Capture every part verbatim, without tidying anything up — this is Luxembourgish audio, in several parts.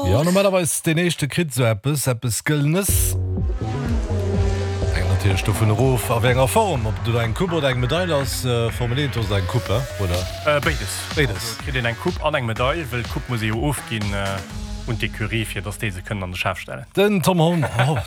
Jo, normalerweis deen éischte kritt esou eppes, eppes Gëllenes. Hänkt natierlech dovun erof, a wéi enger Form, ob et elo eng Coupe oder eng Medail ass. Formel eent ass et eng Coupe, oder? Béides. Béides. Also et kritt een eng Coupe an eng Medail, wëll d'Coupe muss ee jo ofginn un d'Ecurie, fir datt déi se kënnen an de Schaf stellen. Den Tom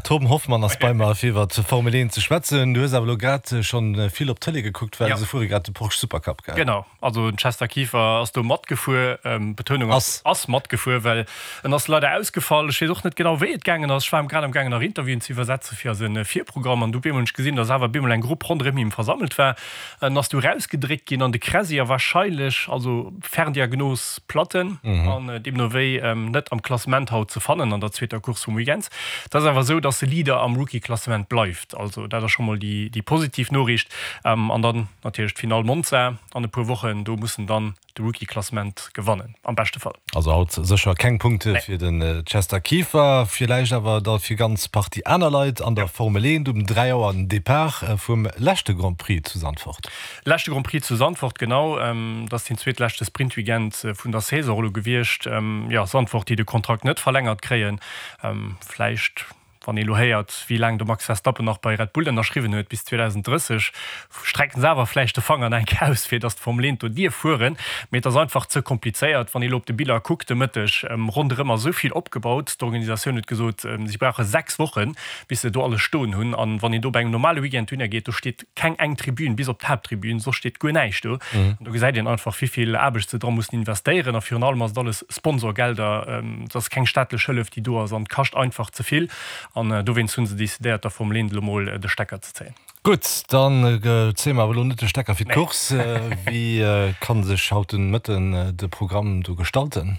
Tom Hoffmann ass bei mer, fir iwwer d'Formel eent ze schwätzen. Du hues awer elo grad schonn vill op d'Tëlee gekuckt, well se fuere grad de Porsche Supercup, gell? Genau. Also den Chester Kieffer ass do matgefuer, Betonung ass ass matgefuer, well en ass leider ausgefall. Ech weess och net genau wéi et gaangen ass. Ech war grad am gaangen nach Interviewen ze iwwersetze fir eise Virprogramm an du op eemol hunn ech gesinn, dass awer op eemol eng Grupp ronderëm him versammelt war. En ass du erausgedréckt ginn an de Cressy a warscheinlech, also Ferndiagnos Platten an deemno wéi net am Klassement haut ze fannen an der zweeter Course vum Weekend. Et ass awer esou, dass e Leader am Rookie-Klassement bleift. Also dat ass scho mol déi déi positiv Noriicht. An dann natierlech d'Finall Monza an e puer Wochen, do muss en dann de Rookie-Klassement gewannen, am beschte Fall. Also haut sécher keng Punkte fir den Chester Kieffer, villäicht awer da fir ganz Partie aner Leit an der Formel eent um dräi Auer den Depart vum leschte Grand Prix zu Zandvoort. Leschte Grand Prix zu Zandvoort, genau. Dat ass deen zweetleschte Sprintweekend vun der Saison elo gewiescht. Jo, Zandvoort, déi de Kontrakt net verlängert kréien, vläicht. Wann ee lo héiert, wéi laang de Max Verstappen nach bei Red Bull ënnerschriwwen huet, bis zweedausenddrësseg, strecken se awer vläicht de Fanger nach eng Kéier aus, fir datt d'Formel eent do dierf fueren. Mee et ass einfach ze komplizéiert. Wann ee lo op de Biller kuckt de Mëtteg, ronderëm ass esou vill opgebaut. D'Organisatioun huet gesot, si brauche sechs Wochen, bis se do alles stoen hunn. An wann een do bei engem normale Weekend dohinner geet, do steet keng eng Tribün, bis op d'Haapttribün, soss steet guer näischt do. An do gesäit een einfach, wéi vill Aarbecht se dra mussen investéieren. A virun allem ass et alles Sponsorgelder, et ass keng staatlech Hëllef, déi do ass, an et kascht einfach ze vill. An dowéinst hu se decidéiert, der Formel eent elo mol de Stecker ze zéien. Gutt, dann zéie mer awer elo net de Stecker fir d'Course. Wéi ka sech haut den Mëtten de Programm do gestalten?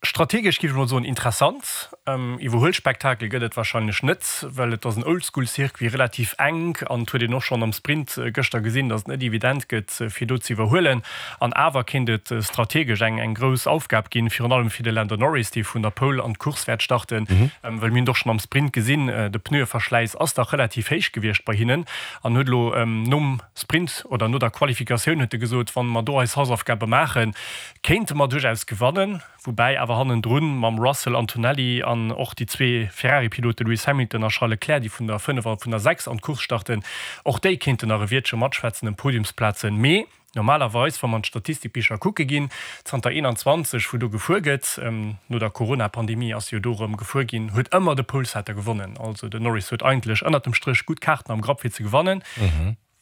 Strategesch géif ech mol soen interessant. Iwwerhuelspektakel gëtt et warscheinlech net, well et ass en Oldschool-Circuit, relativ enk an et huet een och schonn am Sprint gëschter gesinn, datt et net evident gëtt, fir do ze iwwerhuelen. An awer kéint et strategesch eng eng grouss Aufgab ginn, virun allem fir de Lando Norris, dee vun der Pole an d'Course wäert starten, well mir hunn et och schonn am Sprint gesinn, de Pneueverschläiss ass dach relativ héich gewiescht bei hinnen an huet elo nom Sprint oder no der Qualifikatioun huet e gesot, wann mer do eis Hausaufgabe maachen, kéinte mer duerchaus gewannen. Woubäi awer hannendrun mam Russell, Antonelli an och déi zwee Ferrari-Pilote Lewis Hamilton a Charles Leclerc, déi vun der fënnef a vun der sechs an d'Course starten, och déi kéinten nach e Wiertche matschwätzen ëm Podiumsplazen. Mee normalerweis, wa mer an d'Statistikbicher kucke ginn, zanter eenanzwanzeg, wou do gefuer gëtt, no der Corona-Pandemie ass jo do erëm gefuer ginn, huet ëmmer de Polesetter gewonnen. Also den Norris huet eigentlech ënnert dem Stréch gutt Kaarten am Grapp fir ze gewannen.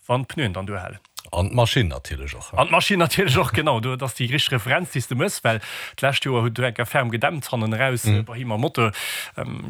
Wann d'Pneuen dann duerhalen. An d'Maschinn natierlech och. An d'Maschinn natierlech och, genau. Do, dat ass déi richteg Referenz, déi s de méchs, well d'lescht Joer huet do eng Kéier ferm gedämpt hannen eraus bei him am Motor.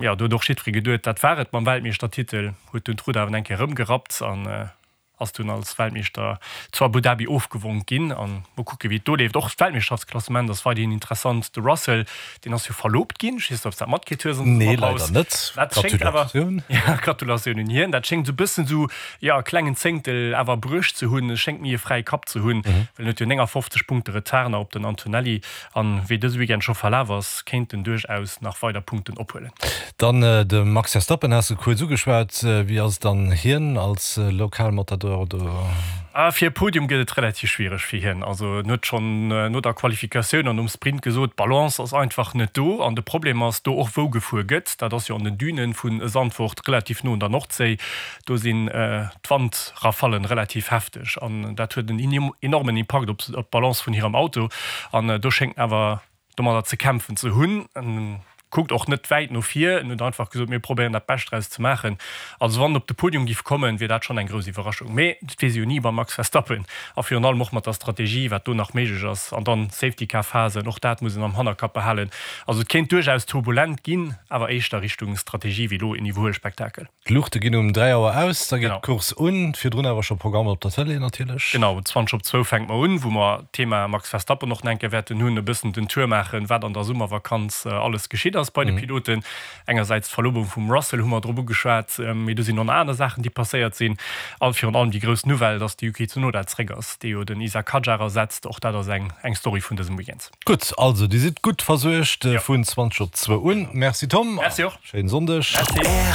Jo, do huet och jiddweree geduet, dat war et mam Weltmeeschtertitel. Huet dunn d'Rudder awer eng Kéier erëmgerappt an ass dunn als Weltmeeschter zu Abu Dhabi ofgewonk ginn. An mol kucke wéi et do leeft. Och d'Weltmeeschterschaftsklassement ass weiderhin interessant. De Russell, deen ass jo verloobt ginn. Ech weess net, ob s de dat matkritt hues an der Nee, Summerpaus. leider net. Dat schéngt awer, Gratulatioun. ja, Gratulatioun un hien. Dat schéngt esou e bëssen esou, jo, e klengen Zéngtel awer bruecht ze hunn. E schéngt méi e fräie Kapp ze hunn, well en huet jo néngafofzeg Punkte Retard nach op den Antonelli. An wéi dëse Weekend scho verlaf ass, kéint en duerchaus nach weider Punkten ophuelen. Dann de Max Verstappen has de kuerz ugeschwat. Wéi ass dann hien als Lokalmatador do? Fir e Podium gëtt et relativ schwiereg fir hien. Also en huet schonn no der Qualifikatioun an nom Sprint gesot, d'Balance ass einfach net do. An de Problem ass do och wou gefuer gëtt. Dat ass jo an den Dünen vu Zandvoort, relativ no un der Nordséi. Do sinn d'Wandrafallen relativ hefteg an dat huet en enormen Impakt op d'Balance vun hirem Auto. An do schéngt en awer domadder ze kämpfen ze hunn. En kuckt och net wäit no vir, en huet einfach gesot, mir probéieren dat Bescht draus ze maachen. Also wann en op de Podium giff kommen, wier dat schonn eng grouss Iwwerraschung. Mee dat weess ee jo ni beim Max Verstappen a virun allem och mat der Strategie, wat do nach méiglech ass. An dann Safety-Car-Phasen, och dat muss een am Hannerkapp behalen. Also et kéint duerchaus turbulent ginn, awer éischter Richtung Strategie wéi elo en Iwwerhuelspektakel. D'Luuchte ginn um dräi Auer aus, da geet d'Course un. Virdrun awer scho Programm op der Tëlee natierlech. Genau, zwanzeg op zwou fänke mer un, wou mer d'Thema Max Verstappen och nach eng Kéier wäerten hunn, e bëssen den Tour maachen, wat an der Summervakanz alles geschitt ass bei de Piloten. Engersäits d'Verlobung vum Russell hu mer drop ugeschwat, mee do sinn och nach aner Saachen, déi passéiert sinn. A virun allem déi grouss Nouvelle, datt de Yuki Tsunoda zréck ass, dee jo den Isack Hadjar ersetzt. Och dat ass eng eng Story vun dësem Weekend. Gutt, also Dir sidd gutt versuergt vun zwanzeg op zwou un. Merci Tom. Merci och. Schéinen Sonndeg. Merci.